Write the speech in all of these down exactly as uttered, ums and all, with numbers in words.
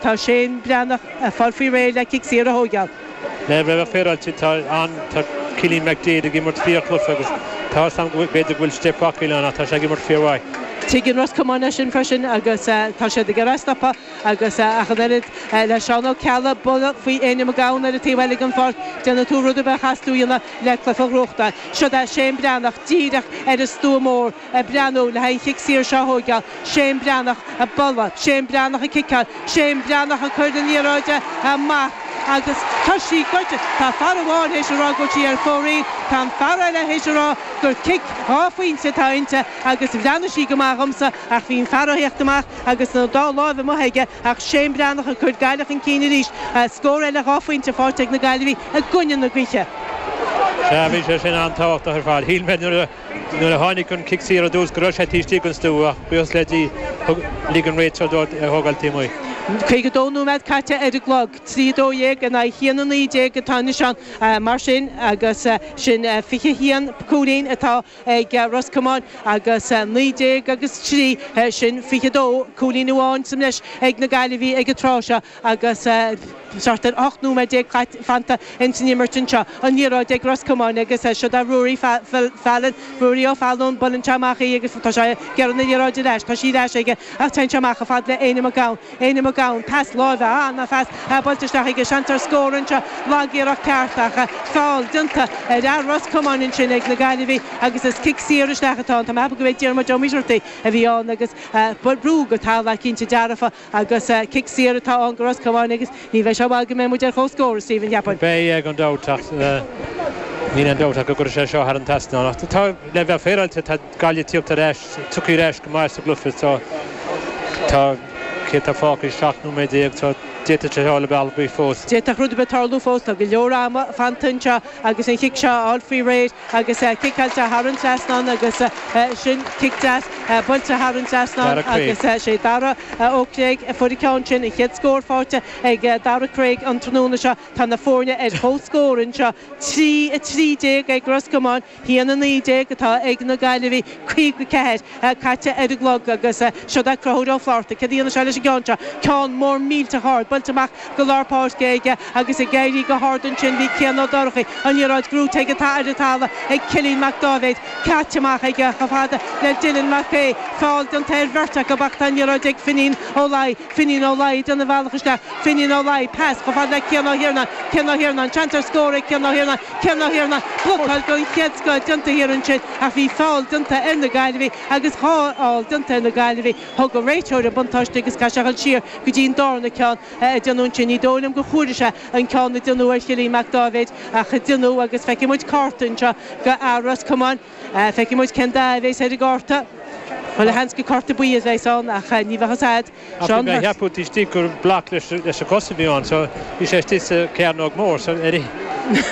Tá Shane Breathnach ag fáil faoi réir le cic saor a thógáil. Le bheith féaráilte tá an tá Cillian McDaid ag imirt fíorchluiche agus tá a fhios agam b'fhéidir go bhfuil steip acu ann ach tá sé ag imirt fíormhaith. Tuigeann Ros Comáin é sin freisin agus tá siad ag iarraidh stopadh agus ach an oiread le Seán Ó Ceallaigh buille faoi Éanna Mac Gabhann ar an taobh eile den pháirc, déanfaidh tú rud ar bith a chaithfeas tú a dhéanamh le cluiche a ghnóthachtáil. Seo é Shane Breathnach díreach ar an stua mór ag breathnú le haghaidh an chic saor seo a thógáil. Shane Breathnach ag bualadh, Shane Breathnach ag ciceáil, Shane Breathnach ag cur na liathróide amach agus tá sí goite. Tá fear amháin théis a rá go bhfuil sí ar fóraoil, tá an fear eile théis a rá gur cic dhá phointe atá inti agus bhreathnaigh sí go maith dhomsa ach bhí an fear á theacht amach agus na dá láimh amuigh aige ach Shane Breathnach ag cur Gaillimh chun cinn arís. Scór eile dhá phointe faighte ag na Gaillimhigh i gcoinne na gaoithe. Sea, bhí sé sin an-tábhachtach ar fad. Shíl mé nuair a nuair a tháinig an cic saor ar dtús go raibh sé taobh istigh den stua ach buíochas le Dia thug lig an réiteoir dó é a thógáil taobh amuigh. Caoga dó nóiméad caite ar an gclog, trí dó dhéag in aghaidh haon a naoi déag atá anois ann mar sin agus sin fiche haon cúilín atá ag Ros Comáin agus naoi déag agus trí sin fiche dó cúilín amháin sa mbreis ag na Gaillimhigh ag an tráth seo agus thart ar ocht nóiméad déag fanta ins an imirt anseo. An liathróid ag Ros Comáin agus seo é Ruairí Fallon, Ruairí Ó Fallon, buaileann sé amach í agus tá sé ag iarraidh na liathróide ar ais, tá sí ar ais aige ach téann sé amach chomh fada le Éanna Mac Gabhann, Éanna Mac Gabhann, pas láimhe, ana-phas buailte isteach aige, seans ar scór anseo, lagiarracht ceart ach feall déanta ar fhear Ros Comáin ansin ag na Gaillimhigh agus is cic saor isteach atá ann. Tá mé ag ceapadh go b'é Diarmuid Ó Muircheartaigh a bhí ann agus brú go talamh cinnte dearfa agus cic saor atá ann go Ros Comáin agus ní bheidh sé i bhfad go mbeidh muid ar comhscór, a Stephen, cheapfainn. Beidh gan dabht ach níl aon dabht ach go gcuirfidh sé seo thar an trasnán. Ach tá, le bheith féaráilte, tá Gaillimh ag tíocht ar ais, tugtha ar ais go maith sa gcluiche so tá, cé tá fágtha, seacht nóiméad déag so d'fhéadfadh sé dul bealach ar bith fós. D'fhéadfadh rud ar bith tarlú fós, tá go leor ama fanta anseo agus an chic seo á fháil faoi réir agus ciceáilte thar an trasnán agus sin cic deas buailte thar an trasnán agus sé Dara Ó Creag a fuair an ceann sin, an chéad scór faighte ag Dara Creag an tráthnóna seo. Tá na foirne ar comhscór anseo, trí a trí déag ag Ros Comáin, haon a naoi déag atá ag na Gaillimhigh, caoga ceathair caite ar an gclog agus seo é Conchúr Ó Flatharta. Céard a dhéanfaidh sé leis an gceann seo? Ceann mór millteach ard, buailte amach go lár páirce aige agus ag éirí go hard ansin bhí Cian Ó Dorchaí, an liathróid gnóite ag ar an talamh ag Cillian Mac Dáibhéid, caite amach aige chomh fada le Dylan Mac Aodha, feall déanta ar bheirt acu ach tá an liathróid ag Finín Ó Laoi, Finín Ó Laoi ag déanamh a bhealach isteach, Finín Ó Laoi, pas chomh fada le Cian Ó hIarnáin, Cian Ó hIarnáin, seans ar scór ag Cian Ó hIarnáin, Cian Ó Hiarnáin, blocáil den chéad scoth déanta thiar ansin ach bhí feall déanta ar na Gaillimhigh agus dhá fheall déanta ar na Gaillimhigh. Thug an réiteoir an buntáiste agus caithfidh sé a dhul siar go dtí an darna ceann a déanadh ansin. Ní dóigh liom gur chuala sé an ceann a déanadh ar Chillian Mac Dáibhéid ach déanadh agus feicfidh muid cárta anseo go fhear Ros Comáin. Feicfidh muid cén dath a bheas ar an gcárta. Chuile sheans gur cárta buí a bheas ann ach ní bheadh fhios a'd. Ach bhí mé ag ceapadh taobh istigh gur bloc leis leis an gcos a bhí ann so bhí sé istigh sa chearnóg mór so ar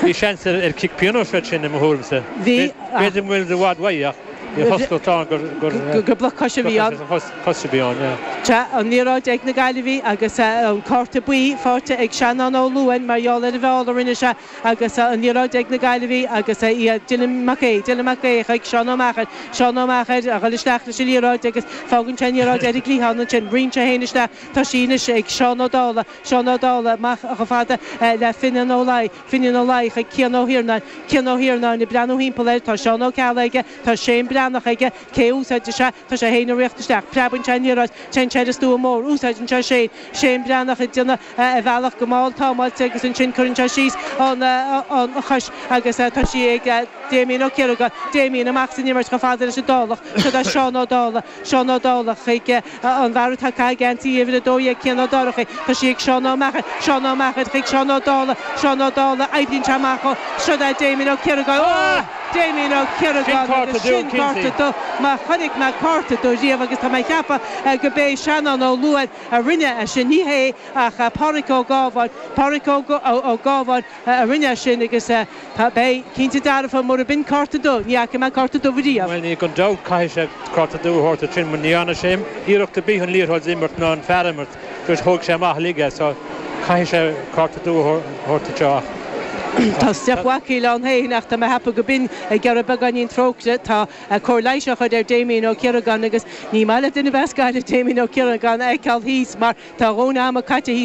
bhí seans ar ar cic pionóis freisin sin i mo thuairimse. Bhí B'fhéidir go bhfuil i bhfad uaidh ach bhí chosúlacht ann gur gur gur bloc coise a bhí ann. Cos a bhí ann, yeah. Sea, an liathróid ag na Gaillimhigh agus an cárta buí faighte ag Seanán Ó Luain mar gheall ar an bhfeall a rinne sé agus an liathróid ag na Gaillimhigh agus iad Dylan Mac Aodha, Dylan Mac Aodha chuig Seán Ó Meachair, Seán Ó Meachair a dhul isteach leis an liathróid agus fágann sé an liathróid ar an gcliathán ansin, ritheann sé féin isteach, tá sí anois ag Seán Ó Dálaigh, Seán Ó Dálaigh amach chomh fada le Finian Ó Laoi, Finian Ó Laoi chuig Cian Ó hIarnáin, Cian Ó hIarnáin ag breathnú thimpeall air, tá Seán Ó Ceallaigh aige, tá Shane Breathnach aige, cé a úsáidfidh sé, tá sé féin ag rith isteach, preabann sé an liathróid, téann sé ar an stua mór, úsáideann sé Shane, Shane Breathnach ag déanamh a bhealach go mall támáilte agus ansin cuireann sé síos an an chois agus tá sí ag Damien Ó Ciaragáin, Damien amach san imirt chomh fada leis an Dálach, seo é Seán Ó Dálaigh, Seán Ó Dálaigh chuig an bhfear atá ag caitheamh geansaí uimhir a dó dhéag Cian Ó Dorchaí, tá sí ag Seán Ó Meachair, Seán Ó Meachair chuig Seán Ó Dálaigh, Seán Ó Dálaigh, oibríonn sé amach ó, seo é Damien Ó Ciaragáin, oh! Damien Ó Ciaragáin agus sin cárta dubh má chonaic mé cárta dubh riamh agus tá mé ag ceapadh go b'é Seanán Ó Luain a rinne é sin, ní hé ach Pádraic Ó Gábháin, Pádraic Ó Gábháin a rinne é sin agus tá, beidh cinnte dearfa mura b'in cárta dubh, ní fhaca mé cárta dubh riamh. Bhuel, ní gan dabht caithfidh sé cárta dubh a thabhairt air sin mar ní dhearna sé iarracht ar bith an liathróid a imirt ná an fear a imirt, just thóg sé amach uilig é so caithfidh sé cárta dubh a thabhairt anseo ach Tá step bhacaí an héin ach tá me hapa go bin ag gar beagáinín trócaire tá cóir leighis á chur ar Damien Ó Ciaragáin agus ní maith le duine bheas Damien Ó Ciaragáin eiceáil thíos mar tá rón ama caite.